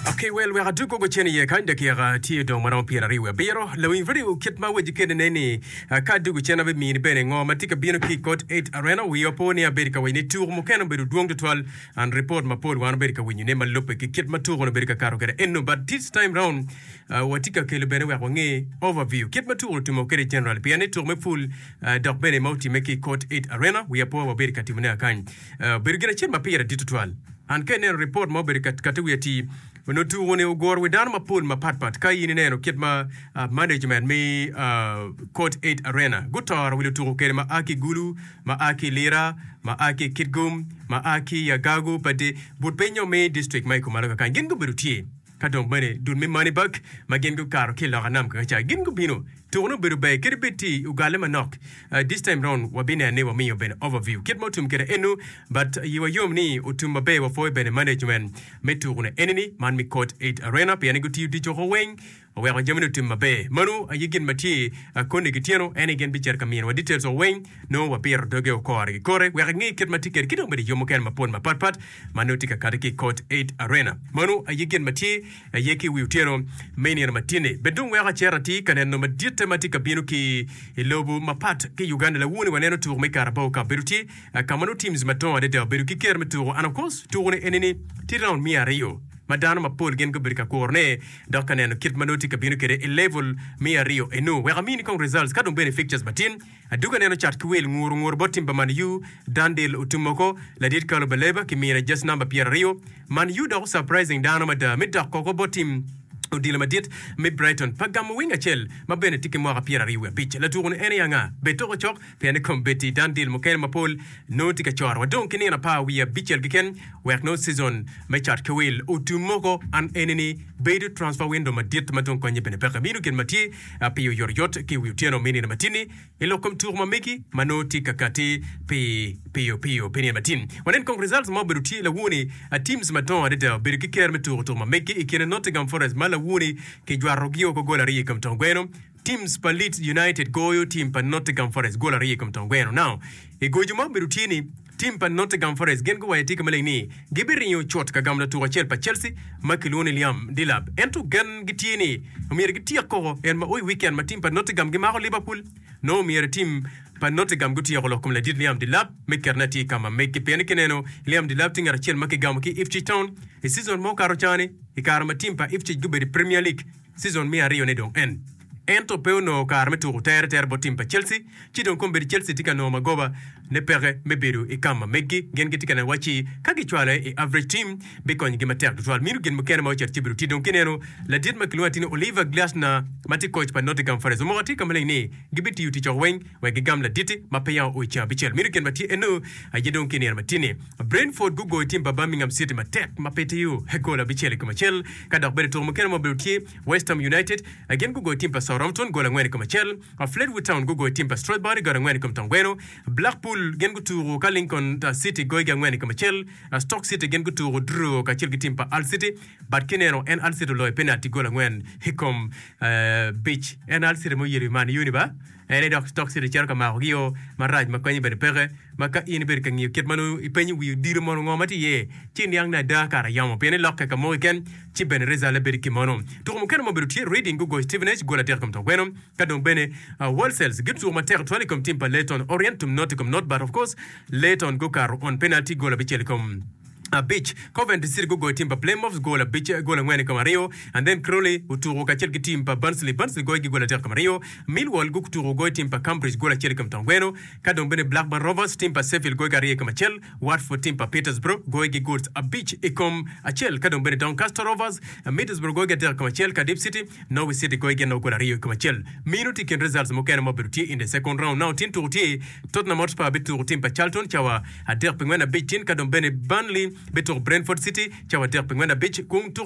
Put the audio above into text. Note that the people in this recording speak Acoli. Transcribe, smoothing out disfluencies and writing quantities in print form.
Okay, well, wek adug koko cen iye kany dakika tye dong maromo 27. Lawiny radio kit ma weci kede ne ni ah, ka adugo cen abimini bene ngo ma tye ka bino ki i Court 8 Arena. Wiya opo ni abedo ka waco ni tuko mukene obedo dwong tutwal and report mapol wan obedo ka winyo ne ma lubbe ki kit ma tuko ni obedo ka kato kede eno but this time round ah, watye ka kelo bene wek wange overview kit ma tuko ni otimo kede general pien ni tuko me pul ah, dok bene ma otime ki i Court 8 Arena wiya po wabedo ka timone akany. Ah, obedo gin acel ma pire dit tutwal. An ka ineno ripot ma obedo ka kati wiye atir, onongo tuko-ni oguro wi dano mapol mapatpat. Ka in ineno kit ma management me Court 8 Arena gutoro wi lutuko kwede ma a ki i Gulu, ma a ki i Lira, ma a ki i Kitgum, ma a ki i Agago, Padi, but piny nyo me district ma i kumalo kakany, gin gubedo tye. Ka dong bene dul me Moneyberg ma gin gukato ki i loka nam kakaca gin gubino. Tuko ne obedo ber kadi bed tye ogalle manok. This time round wabineno ni wamiyo bene overview kit ma otum kwede enu but yiwa yom ni otum maber wapwoyo bene management me tuko ne enini man me Court 8 Arena pien ni gutiyo tic woko weng oweko jami ni otum maber. Manu aye gin ma tye koni ki tyeno en aye gin bicito ka mino wa details woko weng nongo wabito doge okore ki kore wek inge kit ma tye kwede ki dong bedo yo mukene mapol mapat pat ma nongo tye ka kati ki i Court 8 Arena. Mano aye gin ma tye aye ki i wi otyeno me nino matin-ni. Bed dong weko acito atir ka neno maditte ma tye ka bino ki i lobo mapat ki i Uganda. Lawoni waneno tuko me Carabao Cup bedo tye ka ma nongo teams madongo adada obedo ki ker me tuko and of course tuko-ni eni-ni tye round me aryo ma dano mapol gin gubedo ka kurone dok ka neno kit ma nongo tye ka bino kwede i level me aryo eno. Wek amini kong results ka dong bene fixtures matin. Aduga neno cat ki wil nguru nguru bot tim pa Man U, Dan Deal otum oko, ladit Carlo Baleba ki mine just number 20. Man U dok surprising dano mada me dok oko bot tim odilo madit me Brighton pa gamo wing acel ma bene tye ki mwaka 25. Latuku ni en aye anga? Bed toko cok pien ni kombeddi Dan Deal mukene mapol nongo tye ka coro wa dong ki nino apar wiye abicel keken wek nongo season me cat ki wil otum oko. An eni ni bedo transfer window madit ma dong konye bene peke. Mino gin ma tye pi oyotoyot ki i wi otyeno me nino matin-ni i lok kom tuko ma megi ma nongo tye ka kati pi piyo piyo pi nino matin. Wanen kong results ma obedo tye lawoni. Teams madongo adada obedo ki ker me tuko tuko ma megi i kine Nottingham Forest ma lawoni kijwarogi woko gol aryo i kom tong gweno. Teams pa Leeds United goyo team pa Nottingham Forest gol aryo i kom tong gweno. Now, i gojo ma obedo tye ni Tim pa Nottingham Forest gin guwaco atika maleng ni gibiringo cut ka gamo latuko acel pa Chelsea ma kilwongo ni Liam Delap ento gen gitye ni omyero gityek koko en ma o i wiken ma tim pa Nottingham gimako Liverpool. Nongo omyero tim pa Nottingham gutyeko lok kom ladit Liam Delap me ketone atir ka ma meggi pien ni kineno Liam Delap tye ngat acel ma kigamo ki Ipswich Town i season ma okato cani i kare ma tim pa Ipswich gubedo i Premier League. Season me aryone dong en. Ento pe onongo kare me tuko tere tere bot tim pa Chelsea, ci dong kombeddi Chelsea tye ka nongo magoba ne peke me bedo i kam ma meggi. Gin gitye ka neno wacci ka gicwale i average team bikonyogi matek tutwal. Mino gin mukene ma ocito ci bedo tye dong kineno ladit ma kilwongo atir ni Oliver Glasner ma tye coach pa Nottingham Forest omoko atir ka maleng ni gibitiyo tic woko weng wek gigam laditi ma peya oo i ceng abicel. Mino gin ma tye eno aye dong ki nino matin-ni. Brentford gugoyo tim pa Birmingham City matek ma pe tiyo gol abicel i kom acel. Ka dok bene tuko mukene ma obedo tye, West Ham United gin gugoyo tim pa Southampton gol angwen i kom acel, Fleetwood Town gugoyo tim pa Stradbury gol angwen i kom tongweno, Blackpool gin gutuko ka Lincoln City goyogi angwen i kom acel, Stoke City gin gutuko draw kacel ki tim pa Hull City but kineno en Hull City oloyo penalty gol angwen i kom bic. En Hull City ma oyelo i Man U ni ba? En aye dok Stoke City cito ka makogi-o marac ma konye bene peke, ma ka in ibedo ka ngiyo kit ma nongo ipenyo wi odilo mono ngo ma tye iye, ci iniang ni ada kara yamo pien ilokke ka mo keken ci bene rizalle bedo kimono. Tuko mukene ma obedo tye, Reading gugoyo Stevenage gol adek i kom tongweno, ka dong bene Walsall gituko matek tutwal i kom tim pa Leyton Orient tum not i kom not but of course Leyton gukato on penalty gol abicel i kom abic. Coventry City gugoyo tim pa Plymouth gol abic gol angwen i kom aryo and then Crawley otuko kacel ki tim pa Barnsley, Barnsley goyogi gol adek i kom aryo. Millwall gutuko goyo tim pa Cambridge gol acel i kom tongweno ka dong bene Blackburn Rovers tim pa Sheffield goyogi aryo i kom acel. Watford tim pa Petersborough goyogi gols abic i kom acel ka dong bene Doncaster Rovers, Middlesbrough goyogi adek i kom acel, Cardiff City, Norwich City goyogi anok gol aryo i kom acel. Meno tye i kin results mukene ma obedo tye in the second round. Now tin tuko tye Tottenham Hotspur bituko tim pa Charlton cawa adek pi ngwen abic tin ka dong bene Burnley bituko Brentford City cawa adek pi ngwen abic. Kung tuko.